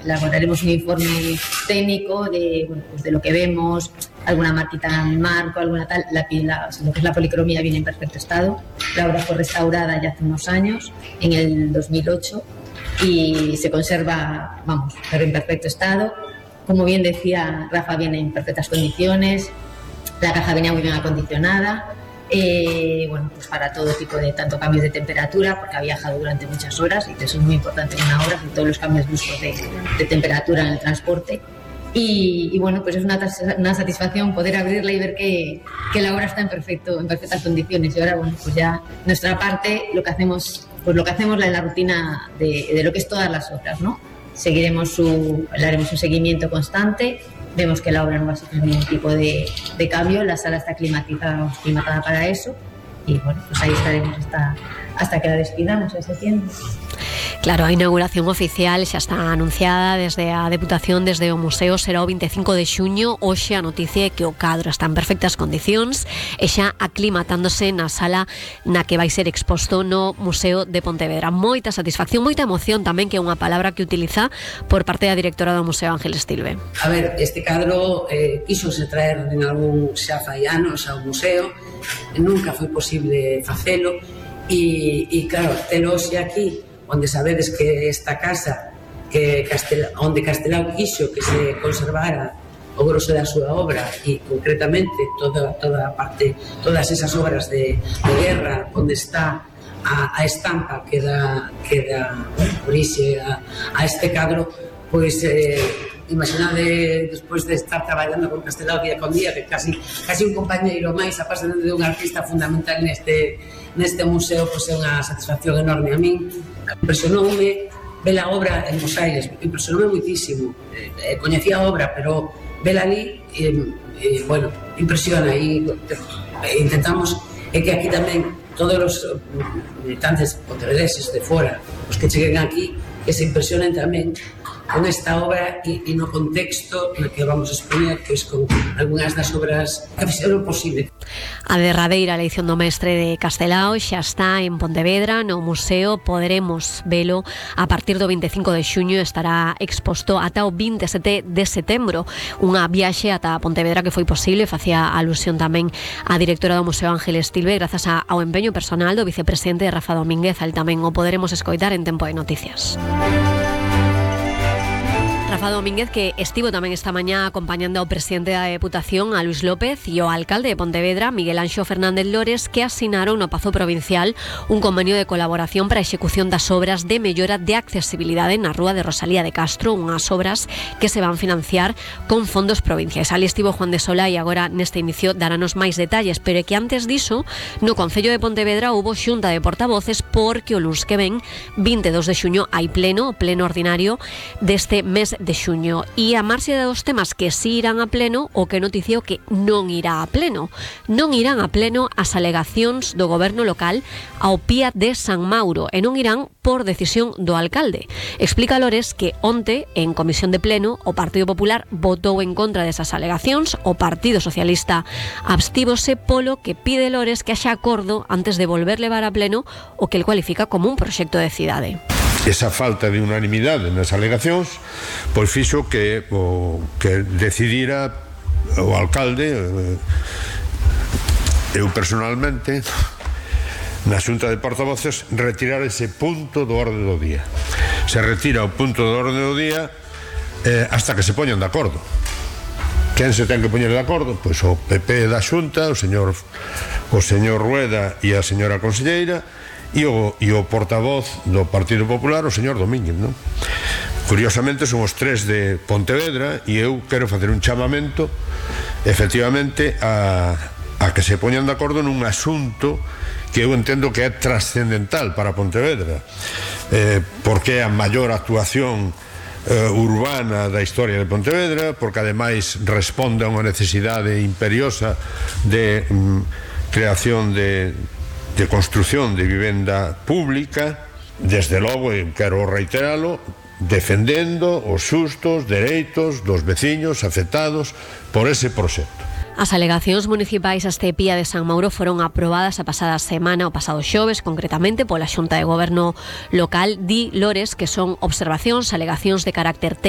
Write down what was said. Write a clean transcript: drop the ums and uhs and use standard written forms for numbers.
elaboraremos un informe técnico de, bueno, pues de lo que vemos, alguna marquita en el marco, alguna tal. Lo que es la policromía viene en perfecto estado. La obra fue restaurada ya hace unos años, en el 2008, y se conserva, vamos, pero en perfecto estado. Como bien decía Rafa, viene en perfectas condiciones. La caja venía muy bien acondicionada. Bueno, pues para todo tipo de tanto cambios de temperatura, porque ha viajado durante muchas horas y eso es muy importante en una obra, todos los cambios bruscos de temperatura en el transporte. Y bueno, pues es una satisfacción poder abrirla y ver que la obra está en perfectas condiciones. Y ahora, bueno, pues ya nuestra parte, lo que hacemos en la rutina de lo que es todas las obras, ¿no? Le haremos un seguimiento constante. Vemos que la obra no va a sufrir ningún tipo de cambio, la sala está climatizada para eso, y bueno, pues ahí estaremos hasta que la despidamos en septiembre. Claro, a inauguración oficial xa está anunciada desde a Deputación, desde o Museo, será o 25 de xuño. Hoxe a noticia é que o cadro está en perfectas condicións e xa aclimatándose na sala na que vai ser exposto no Museo de Pontevedra. Moita satisfacción, moita emoción tamén, que é unha palabra que utiliza por parte da directora do Museo, Ángeles Tilbe. A ver, este cadro quíxose traer en algún xa fai anos ao museo, nunca foi posible facelo e claro, telo hoxe aquí, onde sabedes que esta casa onde Castelao quixo que se conservara o grosso da súa obra e concretamente toda a parte, todas esas obras de guerra, onde está a estampa que dá orixe a este cadro, pois imaginade despois de estar traballando con Castelao día con día, que casi un compañeiro máis, apasionante de un artista fundamental neste museo, pois é unha satisfacción enorme. A min impresionoume ver a obra en Bos Aires, impresionoume muitísimo. Coñecía a obra, pero vela ali, bueno, impresiona, e intentamos que aquí tamén todos os militantes pontevedreses de fora, os que cheguen aquí, que se impresionen tamén con esta obra e no contexto no que vamos a expoñer, que é con algunhas das obras que fixeron posible. A derradeira eleición do mestre de Castelao xa está en Pontevedra, no museo. Poderemos velo a partir do 25 de xuño, estará exposto ata o 27 de setembro. Unha viaxe ata Pontevedra que foi posible, facía alusión tamén a directora do Museo, Ángeles Tilbe, grazas ao empeño personal do vicepresidente Rafa Domínguez. Al tamén o poderemos escoitar en Tempo de Noticias. Rafa Domínguez, que estivo tamén esta mañá acompañando ao presidente da Deputación, a Luis López, e o alcalde de Pontevedra, Miguel Anxo Fernández Lores, que asinaron no Pazo Provincial un convenio de colaboración para a execución das obras de mellora de accesibilidade na Rúa de Rosalía de Castro, unhas obras que se van financiar con fondos provinciais. Ali estivo Juan de Sola e agora neste inicio darános máis detalles, pero é que antes diso, no Concello de Pontevedra houbo xunta de portavoces porque o luns que ven, 22 de xuño, hai pleno ordinario deste mes de xuño, e a marxe dos temas que si irán a pleno, o que noticiou que non irá a pleno. Non irán a pleno as alegacións do goberno local ao PIA de San Mauro, e non irán por decisión do alcalde. Explica Lores que onte, en comisión de pleno, o Partido Popular votou en contra desas alegacións, o Partido Socialista abstívose, polo que pide Lores que haxa acordo antes de volver levar a pleno o que el cualifica como un proxecto de cidade. Esa falta de unanimidade nas alegacións pois fixo que decidira o alcalde, eu personalmente, na xunta de portavoces, retirar ese punto do orde do día. Se retira o punto do orde do día hasta que se poñan de acordo. Quen se ten que poñer de acordo? Pois o PP da xunta, o señor Rueda e a señora conselleira, e o portavoz do Partido Popular, o señor Domínguez, non? Curiosamente son os tres de Pontevedra, e eu quero facer un chamamento efectivamente a que se poñan de acordo nun asunto que eu entendo que é trascendental para Pontevedra, porque é a maior actuación urbana da historia de Pontevedra, porque ademais responde a unha necesidade imperiosa de creación de construción de vivenda pública. Desde logo, quero reiteralo, defendendo os xustos dereitos dos veciños afectados por ese proxecto. As alegacións municipais a este PIA de San Mauro foron aprobadas a pasada semana, o pasado xoves, concretamente pola Xunta de Goberno local. Di Lores que son observacións, alegacións de carácter técnico